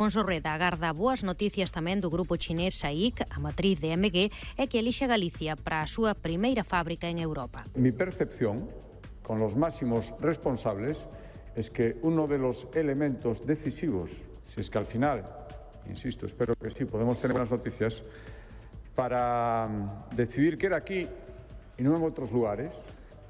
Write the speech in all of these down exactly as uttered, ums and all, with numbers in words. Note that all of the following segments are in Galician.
Monsorreda agarda boas noticias tamén do grupo chinés S A I C, a matriz de M G, e que elixe Galicia para a súa primeira fábrica en Europa. Mi percepción, con los máximos responsables, es que uno de los elementos decisivos, si es que al final, insisto, espero que sí, podemos tener buenas noticias, para decidir que era aquí y no en otros lugares,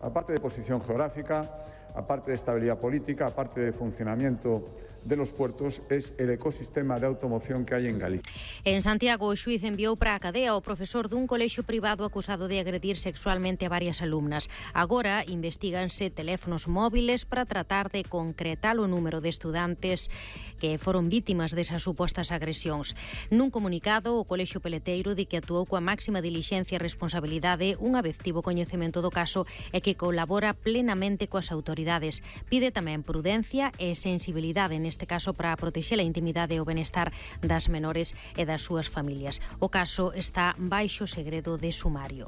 aparte de posición geográfica, aparte de estabilidad política, aparte de funcionamiento de los puertos, es el ecosistema de automoción que hay en Galicia. En Santiago, o xuíz enviou para a cadea o profesor dun colexio privado acusado de agredir sexualmente a varias alumnas. Agora investíganse teléfonos móviles para tratar de concretar o número de estudantes que foron vítimas desas supostas agresións. Nun comunicado, o colexio peleteiro di que actuou coa máxima dilixencia e responsabilidade unha vez tivo coñecemento do caso e que colabora plenamente coas autoridades. Pide tamén prudencia e sensibilidade neste caso para protexer a intimidade e o benestar das menores e das súas familias. O caso está baixo segredo de sumario.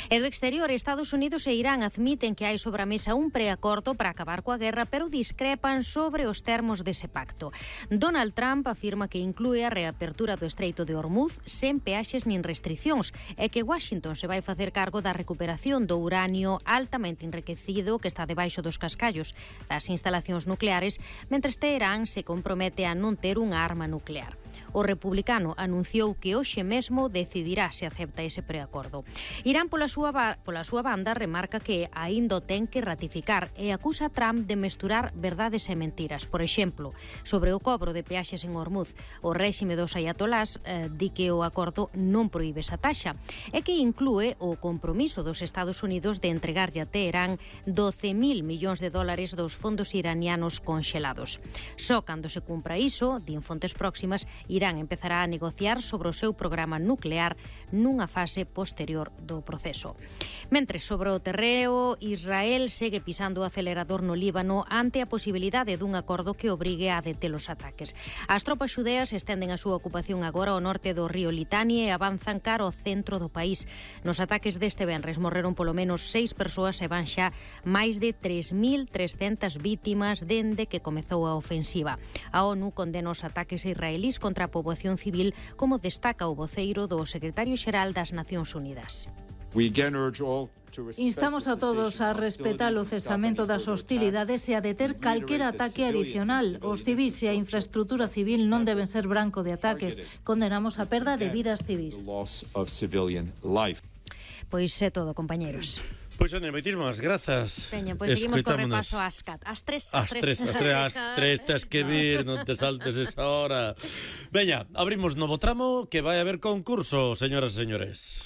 E do exterior, Estados Unidos e Irán admiten que hai sobre a mesa un preacordo para acabar coa guerra, pero discrepan sobre os termos dese pacto. Donald Trump afirma que inclúe a reapertura do Estreito de Hormuz sen peaxes nin restriccións e que Washington se vai facer cargo da recuperación do uranio altamente enriquecido que está debaixo dos cascallos das instalacións nucleares, mentres Teherán se compromete a non ter unha arma nuclear. O republicano anunciou que hoxe mesmo decidirá se acepta ese preacordo. Irán, pola súa, pola súa banda, remarca que aínda ten que ratificar e acusa a Trump de mesturar verdades e mentiras. Por exemplo, sobre o cobro de peaxes en Hormuz, o réxime dos ayatolás eh, di que o acordo non proíbe esa taxa e que inclúe o compromiso dos Estados Unidos de entregarlle a Teherán doce mil millóns de dólares dos fondos iranianos conxelados. Só cando se cumpra iso, din fontes próximas, Irán empezará a negociar sobre o seu programa nuclear nunha fase posterior do proceso. Mentres, sobre o terreo, Israel segue pisando o acelerador no Líbano ante a posibilidade dun acordo que obrigue a deter os ataques. As tropas xudeas estenden a súa ocupación agora ao norte do río Litani e avanzan cara ao centro do país. Nos ataques deste venres morreron polo menos seis persoas e van xa máis de tres mil trescentas vítimas dende que comezou a ofensiva. A ONU condena os ataques israelís contra a poboación civil, como destaca o voceiro do secretario xeral das Nacións Unidas. Instamos a todos a respetar o cesamento das hostilidades e a deter calquera ataque adicional. Os civis e a infraestrutura civil non deben ser branco de ataques. Condenamos a perda de vidas civis. Pois é todo, compañeros. Pois, Sonia, moitísimas grazas. Teño, pois seguimos co repaso ás cat. Ás tres. Ás tres, ás tres, ás tres, tes que vir, non te saltes esa hora. Veña, abrimos novo tramo, que vai haber concurso, señoras e señores.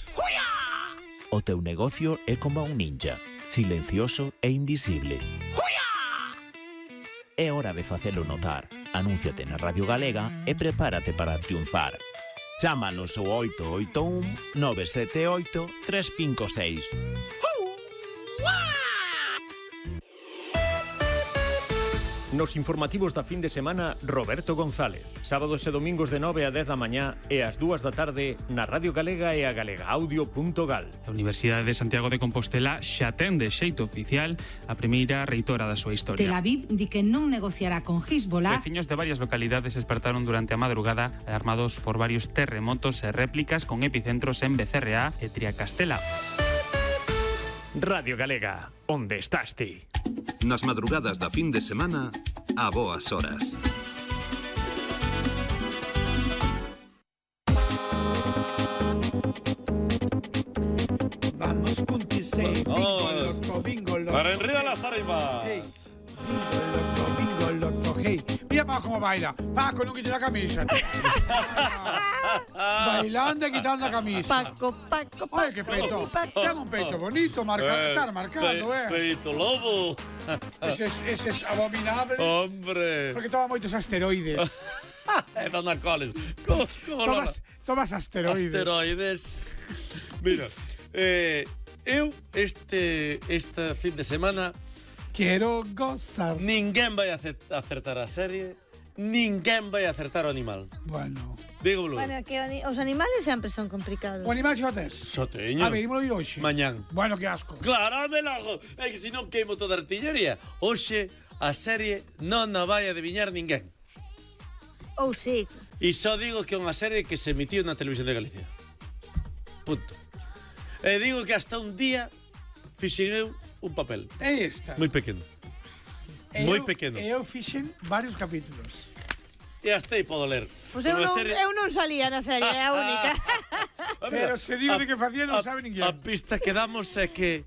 O teu negocio é como un ninja, silencioso e invisible. É hora de facelo notar. Anúnciate na Radio Galega e prepárate para triunfar. Chámanos ao oito oito un nove sete oito tres cinco seis. Nos informativos da fin de semana, Roberto González. Sábados e domingos de nove a dez da mañá e ás dúas da tarde na Radio Galega e a galegaaudio punto gal. A Universidade de Santiago de Compostela xa ten de xeito oficial a primeira reitora da súa historia. Tel Aviv di que non negociará con Hezbollah. Veciños de varias localidades despertaron durante a madrugada alarmados por varios terremotos e réplicas con epicentros en Becerreá e Triacastela. Radio Galega, onde estás ti? Nas madrugadas da fin de semana, a boas horas. Vamos con Tisei, bingo, loco, bingo, loco. Para enriba las tarimas. Hey. Bingo, loco, bingo, loco, hey. Mira Paco cómo baila. Paco, no quite la camisa. Bailando y quitando la camisa. Paco, Paco, Paco. Oye, qué peito. Tiene un peito bonito, marcado, eh, estar marcando, eh. Peito lobo. Ese es, ese es abominable. Hombre. Porque toma moitos asteroides. Eh, dona coles. ¿Cómo, cómo tomas, tomas asteroides. Asteroides. Mira, eh, eu este, esta fin de semana quero gozar. Ninguén vai acertar a serie, ninguén vai acertar o animal. Bueno. Dígolo. Bueno, que os animales sempre son complicados. O animal xa tes? Xo teño. A ver, dímolo ir hoxe. Mañán. Bueno, que asco. Claro, me lago. É que se non queimo toda a artillería. Hoxe a serie non a vai adiviñar ninguén. Ou sí. E só digo que é unha serie que se emitiu na televisión de Galicia. Punto. E digo que hasta un día fixen eu un papel. É esta. Moi pequeno. Moi pequeno. E eu fixen varios capítulos. E hasta aí podo ler. Pois eu non, serie... eu non salía na serie, é a única. Pero se digo de que facía non sabe ninguén. A pista que damos é que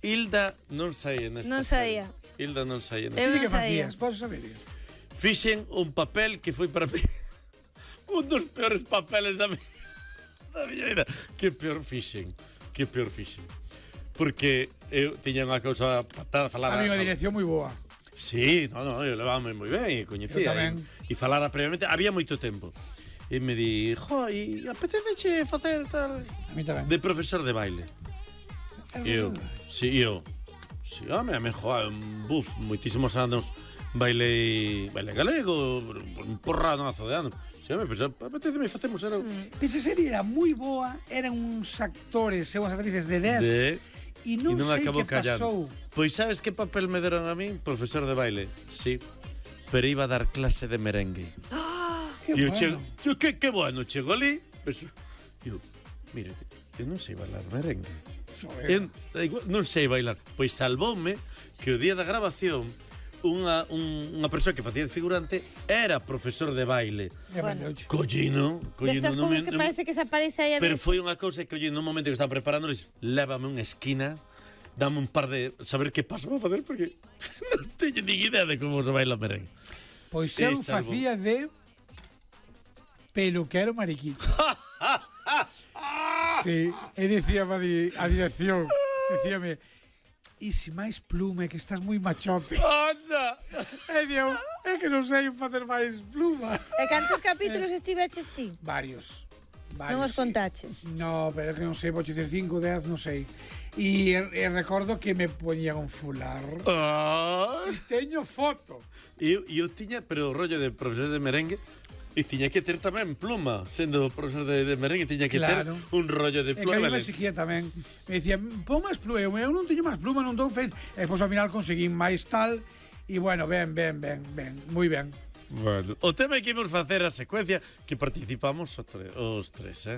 Hilda non saía nesta Non serie. saía. Hilda non saía nesta serie. Eu que non saía. facías? Podes saber? Fixen un papel que foi para mí un dos peores papeles da, mi... da miña vida. Que peor fixen. Que peor fixen. Porque eu tiña unha cousa para falar... A mí unha dirección moi boa. Sí, no, no, eu levábame moi ben e coñecía. Eu tamén. E, e falara previamente, había moito tempo. E me di, jo, e apeteceche facer tal... A mí tamén. De profesor de baile. E eu, si, eu, si, home, a me, jo, un buf, moitísimos anos bailei, bailei galego, un porradazo de anos. Si, home, pues, apeteceme facemos, era... Mm. Esa serie era moi boa, eran uns actores e unhas actrices de dez. De... E non, non sei que pasou. Pois sabes que papel me deron a mí? Profesor de baile, sí. Pero iba a dar clase de merengue. ¡Ah! ¡Qué yo bueno! Chego, yo, que, que bueno, chego ali. Eu, mire, eu non sei bailar merengue. Eu, non sei bailar. Pois salvoume que o día da grabación unha, un, unha persoa que facía de figurante era profesor de baile. Bueno. Collino, collino. Destas cousas que parece que se aparece aí a Pero foi unha cousa que, oye, no momento que estaba preparando, lévame unha esquina, dame un par de... saber que paso a facer, porque non teño nin idea de como se baila merengue. Pois eu facía de peluquero mariquito. Sí, e dicía a dirección, dicíame... E se máis plume, que estás moi machote. Anda! E digo, é que non sei facer máis pluma. E cantos capítulos estiveches ti? Varios. varios Non os contaches? Sí. No, pero é que non sei, vou dizer cinco, dez, non sei. E, e recordo que me poñían un fular. Ah. E teño foto. E eu, eu tiña, pero o rollo de profesor de merengue, e tiña que ter tamén pluma, sendo profesor de, de merengue, tiña que claro. ter un rollo de pluma. E que a mí me exigía tamén. Me dicía, pon máis pluma, eu non teño máis pluma, non dou feito. E depois ao final conseguín máis tal, e bueno, ben, ben, ben, ben, moi ben. Bueno, o tema é que imos facer a secuencia que participamos os, tre os tres, eh?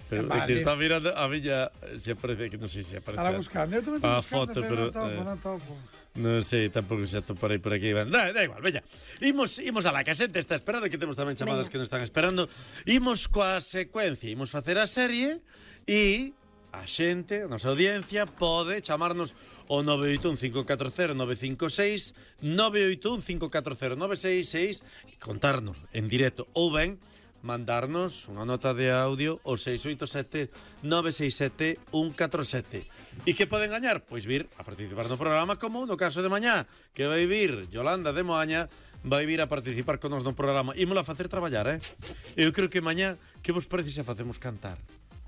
Pero vale. Que está mirando a miña, se aparece, que non sei se aparece. Estaba buscando, eu tamén estou a buscando, foto, pero, pero non topo, eh, non topo. Non sei, tampouco se atoparei por aquí. Da, da igual, veña. Imos, imos a la que a xente está esperando, que temos tamén chamadas veña. Que nos están esperando. Imos coa secuencia, imos facer a serie e a xente, a nosa audiencia, pode chamarnos o nove oito un cinco catro cero nove cinco seis, nove oito un cinco catro cero nove seis seis e contarnos en directo ou ben mandarnos unha nota de audio ao seis oito sete nove seis sete un catro sete. E que poden gañar? Pois vir a participar no programa, como no caso de mañá, que vai vir Yolanda de Moaña, vai vir a participar con nos no programa. Ímola a facer traballar, eh? Eu creo que mañá, que vos parece se facemos cantar?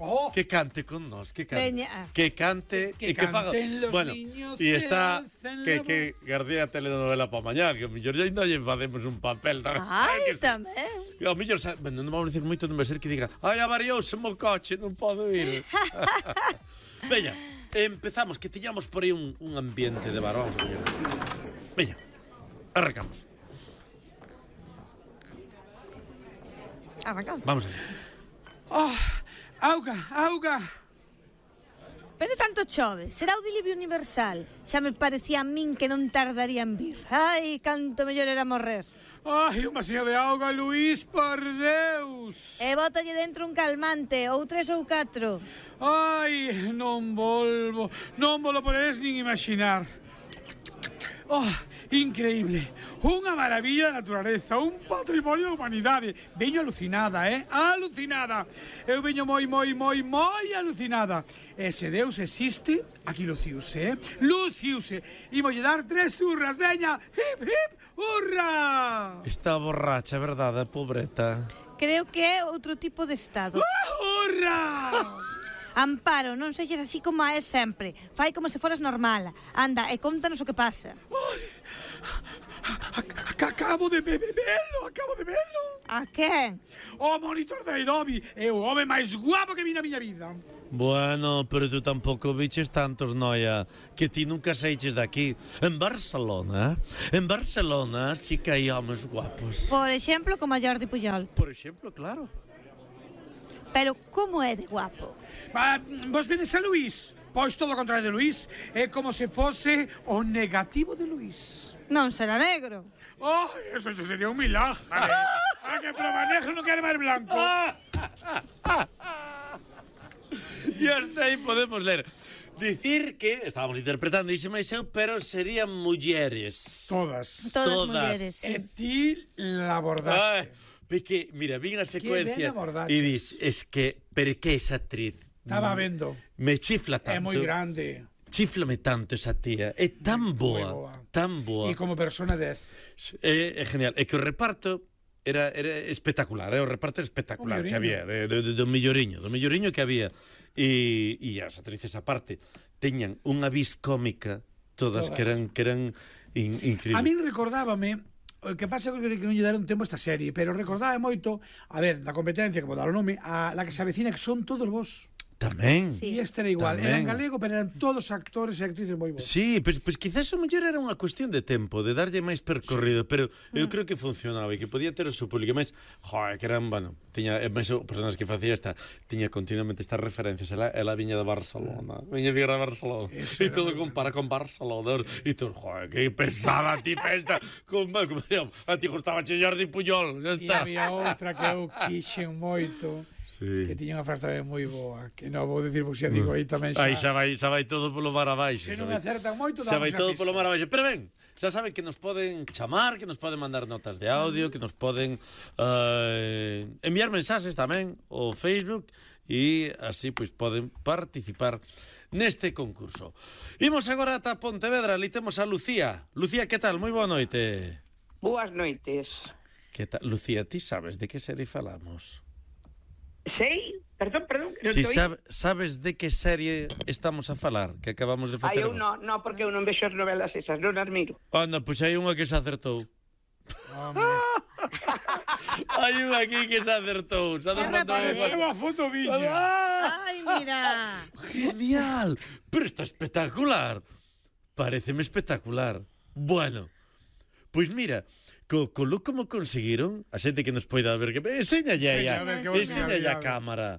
Oh. Que cante con nos, que cante, Veña. que cante que e que faga. Los bueno, e está que que que gardea telenovela para mañá, que o mellor ya ainda lle facemos un papel. Ai, que tamén. O mellor, bueno, non vamos a dicir moito, non vai ser que diga, ai, avariouse mo coche, non podo ir. Veña, empezamos, que tiñamos por aí un, un ambiente de bar, vamos a ver. Veña, arrancamos. Arrancamos. Vamos allá. Oh, auga, auga. Pero tanto chove, será o diluvio universal. Xa me parecía a min que non tardaría en vir. Ai, canto mellor era morrer. Ai, un vacío de auga, Luís, por Deus. E bótalle dentro un calmante, ou tres ou catro. Ai, non volvo, non vos lo poderes nin imaginar. Oh, increíble, unha maravilla da naturaleza, un patrimonio da humanidade. Veño alucinada, eh? Alucinada. Eu veño moi, moi, moi, moi alucinada. E se Deus existe, aquí luciuse, eh? Luciuse. Imolle dar tres hurras, veña, hip, hip, hurra. Está borracha, verdade, pobreta? Creo que é outro tipo de estado. Ah, hurra! Amparo, non sexes así como é sempre. Fai como se foras normal. Anda, e contanos o que pasa. Acabo de bebelo, acabo de velo. A quen? O monitor de Adobe é o home máis guapo que vi na miña vida. Bueno, pero tú tampouco biches tantos, noia, que ti nunca seiches de aquí. En Barcelona, en Barcelona sí que hai homes guapos. Por exemplo, como a Jordi Pujol. Por exemplo, claro. Pero como é de guapo? Ah, vos vedes a Luís? Pois todo o contrario de Luís. É como se fose o negativo de Luís. Non será negro. Oh, eso, eso sería un milagre. Ah, que prova negro non quere máis blanco. E hasta aí podemos ler. Dicir que, estábamos interpretando ixe máis eu, pero serían mulleres. Todas. Todas, Todas. mulleres. E Sí. ti la abordaste. Porque, mira, vin a secuencia abordaches. e dis, es que, pero que esa actriz Estaba vendo. me chifla tanto. É moi grande. Chiflame tanto esa tía. É tan boa, boa. tan boa. E como persona dez. É, é genial. É que o reparto era, era espectacular, é o reparto espectacular que había, de, de, de, do milloriño, do milloriño que había. E, e as actrices aparte teñan unha vis cómica todas, Todas. que eran que eran in, increíbles. A min recordábame, o que pasa é que non lle deron tempo a esta serie, pero recordaba moito, a ver, da competencia, como dar o nome, a la que se avecina, que son todos vos. Tamén. E este era igual, Tamén. eran galego, pero eran todos actores e actrices moi bons. Sí, pois, pois quizás a mellor era unha cuestión de tempo, de darlle máis percorrido, sí. Pero eu creo que funcionaba e que podía ter o seu público. Mas, joder, que eran, bueno, tiña, máis o personas que facía esta, tiña continuamente estas referencias. Ela, ela viña de Barcelona, viña de Barcelona, e todo compara con Barcelona, e todo, joder, que pesada ti esta, con, como, a ti gustaba che Jordi Pujol, E xa está. había outra que eu quixen moito, sí. Que tiña unha frase tamén moi boa, que non vou dicir, porque xa digo aí tamén xa... Aí xa vai, xa vai todo polo mar abaixo. Se non xa vai- acertan moito, xa damos vai a todo pista. polo mar abaixo. Pero ben, xa saben que nos poden chamar, que nos poden mandar notas de audio, que nos poden eh, enviar mensaxes tamén ao Facebook e así pois poden participar neste concurso. Imos agora ata Pontevedra, ali temos a Lucía. Lucía, que tal? Moi boa noite. Boas noites. Que tal? Lucía, ti sabes de que serie falamos? Sei? Perdón, perdón. Non Si te oí. sabe, sabes de que serie estamos a falar, que acabamos de Ai, facer? eu non, non, porque eu non vexo as novelas esas, non as miro. Anda, pois hai unha que se acertou. Hai unha aquí que se acertou. Se acertou. Unha foto viña. Ai, mira. Genial. Pero está espectacular. Pareceme espectacular. Bueno, pois mira, co, co look como conseguiron, a xente que nos poida ver, que enséñalle aí, Sí, a ver, que vos enséñalle mira, a mira. cámara.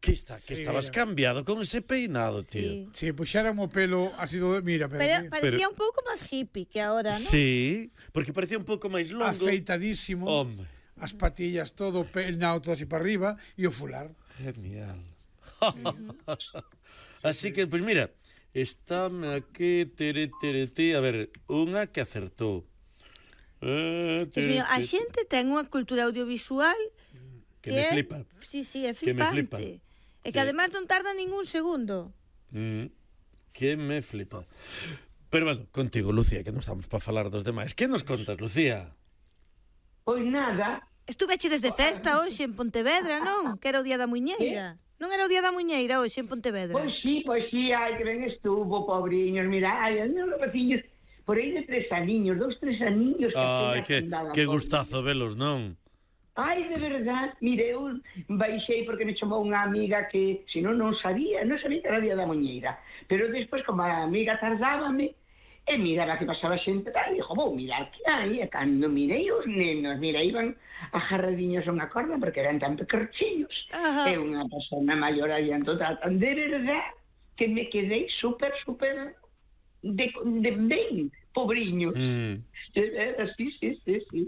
Que está, que Sí, estabas mira. cambiado con ese peinado, tío. Si, puxeran o pelo así do... Mira, pero... Pero aquí. parecía un pouco máis hippie que ahora, non? Sí, porque parecía un pouco máis longo. Afeitadísimo. Hombre. As patillas todo peinado todo así para arriba e o fular. Genial. Así que, pois mira, estáme aquí, tere, tere, tere, a ver, unha que acertou. Eh, Dios mío, a xente ten unha cultura audiovisual que me é- flipa. Sí, sí, é Que me flipa. flipante. E que Que- además non tarda ningún segundo. Mm, que me flipa. Pero bueno, contigo, Lucía, que non estamos para falar dos demais. Que nos contas, Lucía? Pois nada. Estuveche desde festa hoxe en Pontevedra, non? Que era o Día da Muñeira. Non era o Día da Muñeira hoxe en Pontevedra. Pois sí, pois sí, ai, que ben estuvo, pobriños, mira, ai, os meus rapaciños, por aí de tres aniños, dos, tres aniños. Ai, apenas que, andaban, que pois. gustazo velos, non? Ai, de verdad, mire, eu baixei porque me chamou unha amiga que, se non, non sabía, non sabía que era Día da Muñeira. Pero despois, como a amiga tardábame, e miraba que pasaba xente tal, e dixo, vou mirar que hai, e cando mirei os nenos, mira, iban agarradiños a unha corda porque eran tan pequerchiños. Ajá. E unha persona maior aí en total, de verdad, que me quedei super, super de, de ben, pobriños. Mm, De verdad, sí, sí, sí, sí.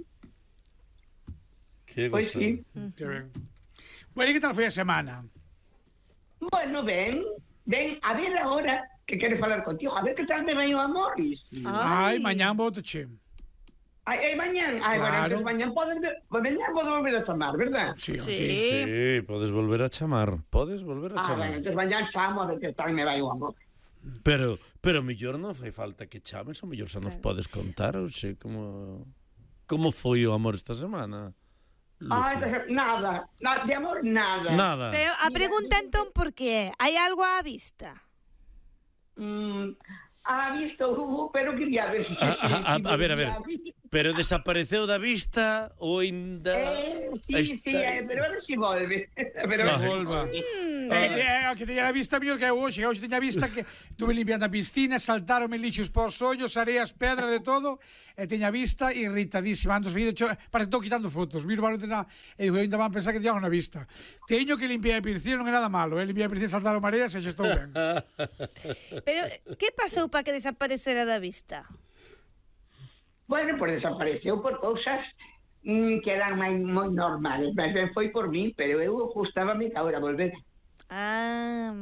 que Pois gozo. sí. Que ben. Bueno, e que tal foi a semana? Bueno, ben, ben, a ver agora que quero falar contigo, a ver que tal me vai o amor. Ai, mañán votoche. Ai, ai, mañán, ai, Claro. bueno, entonces mañán podes, pues mañán podo volver a chamar, verdad? Sí, Sí. Sí, podes volver a chamar. Podes volver a Ah, bueno, chamar. entonces mañán chamo a ver que tal me vai o amor. Pero, pero mellor non fai falta que chames, ou mellor xa nos podes contar, ou sei, como... Como foi o amor esta semana? Ai, Lucía? pues, nada, na, de amor nada. Nada. Pero a pregunta entón por que é? Hai algo á vista? Mm, ha visto, uh, pero quería ver si... A, a, a, a ver, a ver. Pero desapareceu da vista ou ainda... Eh, sí, sí, eh, pero ahora si volve. Pero que volva. É, que teña a vista mío que é hoxe. Hoxe teña a vista que tuve limpiando a piscina, saltaronme lixos por os ollos, areas, pedras, de todo, e teña a vista irritadísima. Ando seguido, parece que estou quitando fotos. Miro barullo na... E digo, ainda van pensar que teño na vista. Teño que limpiar a piscina, non é nada malo, eh? Limpiar a piscina, saltaron mareas e xa estou ben. Pero, que pasou para que desaparecera da vista? Bueno, pues desapareceu por cousas mm, que eran moi, moi normales. Mas ben foi por mí, pero eu gustábame que agora volver. Ah...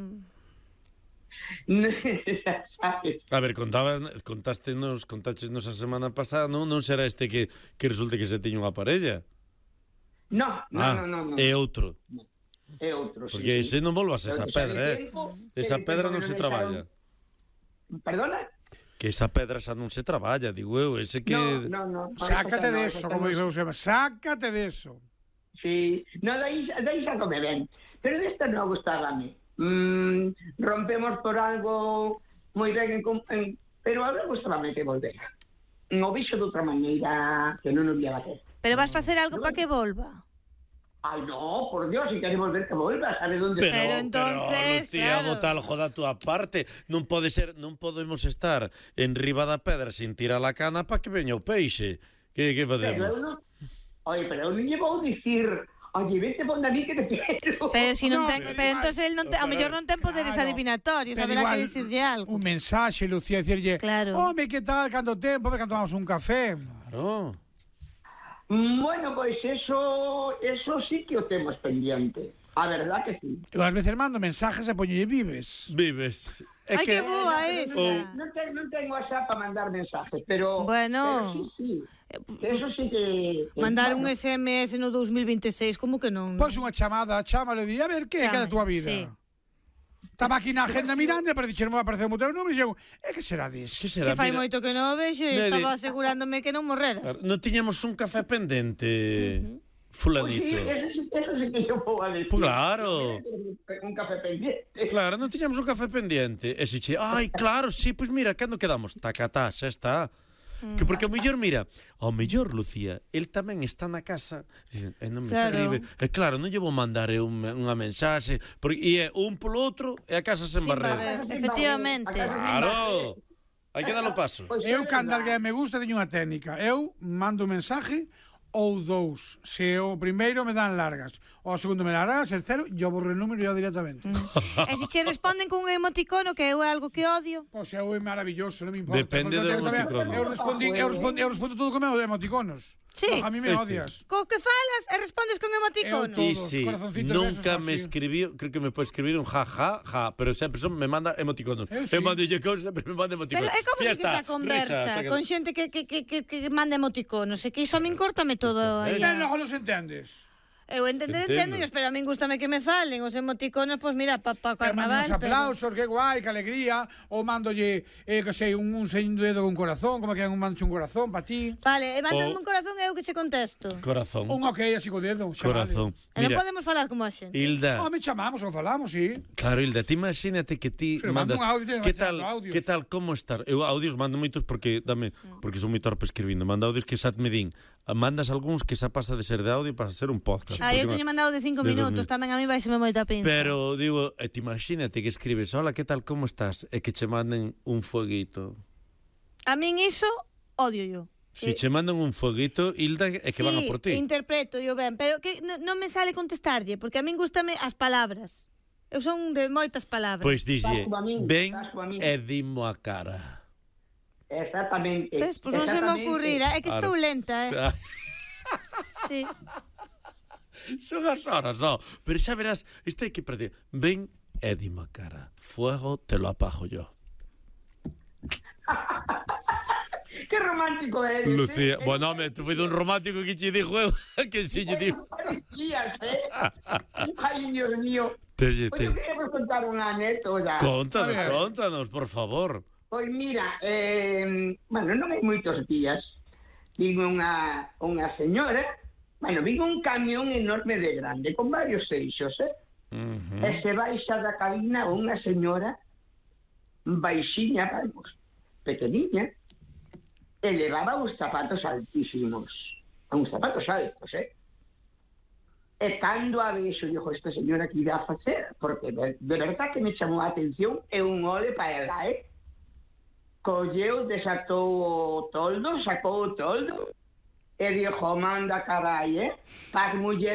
Sabes? A ver, contaba, contástenos, contáchenos a semana pasada, non, non será este que, que resulte que se tiña unha parella? No, no, ah, no, no, no. É outro. É outro, sí. Porque ese non volvas esa pedra, eh? Esa pedra non se traballa. Perdona? Que esa pedra xa non se traballa, digo eu, ese que... No, no, no. Sácate de eso, como dijo Eusebio, sácate de eso. Sí, no, dai, dai xa come ben. Pero desta non gustábame. Mm, rompemos por algo moi ben, en, en, pero agora gustábame que volvera. No vixo de outra maneira que non o vía bater. Pero vas facer algo para que volva? Ay, no, por Dios, si queres volver, que vuelva, ¿sabes dónde pero, está? Pero entonces, pero, Lucía, claro. bota algo da túa parte. Non pode ser, non podemos estar en riba da pedra sin tirar a cana para que veña o peixe. Que, que facemos? Pero eu non... Oye, pero eu non lle vou dicir... Oye, vete por mí que te quiero. Pero si non No, ten, pero pero igual. entonces el non te, a mellor non ten poderes Claro. adivinatorios, Pero haberá igual, que dicirlle algo. Un mensaxe, Lucía, dicirlle, Claro. home, que tal, canto tempo, a ver, canto tomamos un café. Claro. Bueno, pois pues eso, eso sí que o temos pendiente. A verdad que sí. Eu ás veces mando mensajes e poñolle vives. Vives. É Ai, que... que boa esa. Oh. Non ten, non ten WhatsApp para mandar mensajes, pero... Bueno. Pero sí, sí. Eso sí que... que Mandar un bueno. S M S no dos mil veintiséis, como que non? Pois unha chamada, chámalo e di, a ver, que é Chame, da tua vida? sí. Estaba aquí na agenda mirando e para dixer, me apareceu o teu número e eu, é que será disso? Que será? Que fai Mira, moito que non o vexo e Nede. estaba asegurándome que non morreras. non tiñamos un café pendente, Pues sí, fulanito. eso sí, eso sí que yo puedo decir. Pues claro. Un café pendiente. Claro, non tiñamos un café pendente. E se che, ai, claro, sí, pois pues mira, cando quedamos? Tacatá, xa está. Que porque ao mellor, mira, ao mellor, Lucía, el tamén está na casa, dicen, e non me Claro. escribe. E claro, non lle vou mandar eu unha, unha mensaxe, porque e é un polo outro e a casa sen Sin barrer. barrer, efectivamente. Claro. Hai que dar o paso. Pois Eu, é cando verdad. alguén me gusta, teño unha técnica. Eu mando un mensaje ou dous. Se o primeiro me dan largas, o segundo me dan largas, el cero, yo borro el número yo directamente. E se che responden cun emoticono, que é algo que odio? Pois é maravilloso, non me importa. Depende Porque do eu tamén- emoticono. Eu respondi, eu respondi, eu respondo todo con emoticonos. Sí. A mí me Este. odias. Co que falas e respondes con emoticono? Eu E todos, si corazoncitos nunca esos me así. escribiu, creo que me pode escribir un ja, ja, ja, pero sempre son, me manda emoticonos. Eu sí. Eu mando lle cousas, sempre me manda Pero emoticonos. é como se Fiesta, esa conversa risa, con xente que, que, que, que, que manda emoticonos, e que iso a min córtame todo aí. E logo nos entendes. Eu entendo, Entendo. entendo, pero a min gustame que me falen os emoticonos, pois mira, pa, pa Pero mando carnaval. uns aplausos, que guai, que alegría. Ou mandolle, eh, que sei, un, un seño dedo con corazón, como que un mancho un corazón para ti. Vale, e mándame O- un corazón e eu que che contesto. Corazón. Un ok, así co dedo. xa Corazón. E non Mira, podemos falar como a xente. Hilda, Vale. Oh, me chamamos ou falamos, sí. claro, Hilda, ti imagínate que ti Se mando mandas un audio, que me tal, mando audios. que tal, como estar? Eu audios mando moitos porque dame, porque son moi torpe escribindo. Mando audios que xa me din. Mandas algúns que xa pasa de ser de audio para ser un podcast. Ah, eu porque teño mandado de cinco de minutos, dormir. tamén a mí vaiseme moita pinza. Pero digo, e ti imagínate que escribes, hola, que tal, como estás? E que che manden un fueguito. A min iso odio yo. Si che mandan un fueguito, Hilda, é que sí, van a por ti. interpreto yo ben, pero que non non me sale contestarlle, porque a min gustame as palabras. Eu son de moitas palabras. Pois dixlle, Estás coa min, ven estás coa min. e dimo a cara. Exactamente. Ves, pois non se me exactamente. ocurrirá, é que estou Claro. lenta, eh. Sí. Son as horas, oh. Pero xa verás, isto hai que perder. Ven e dimo a cara. Fuego te lo apago yo. Qué romántico eres. Lucía, eh? bueno, home, tu foi dun romántico que che dixo eu, que si lle digo. Parecías, eh? Ay, Dios mío. Te, Pues te... yo quería vos contar unha anécdota. Contanos, A ver. contanos, por favor. Pois mira, eh, bueno, non hai moitos días, vin unha, unha señora, bueno, vin un camión enorme de grande, con varios eixos, eh? Uh -huh. E se baixa da cabina unha señora baixiña, vamos, pequeniña, e levaba uns zapatos altísimos, uns zapatos altos, eh? E cando a vexo, digo, esta señora que irá a facer, porque de, de verdad que me chamou a atención, e un ole para ela, eh? Colleu, desatou o toldo, sacou o toldo, e dixo, manda carai, eh? Para as mulleres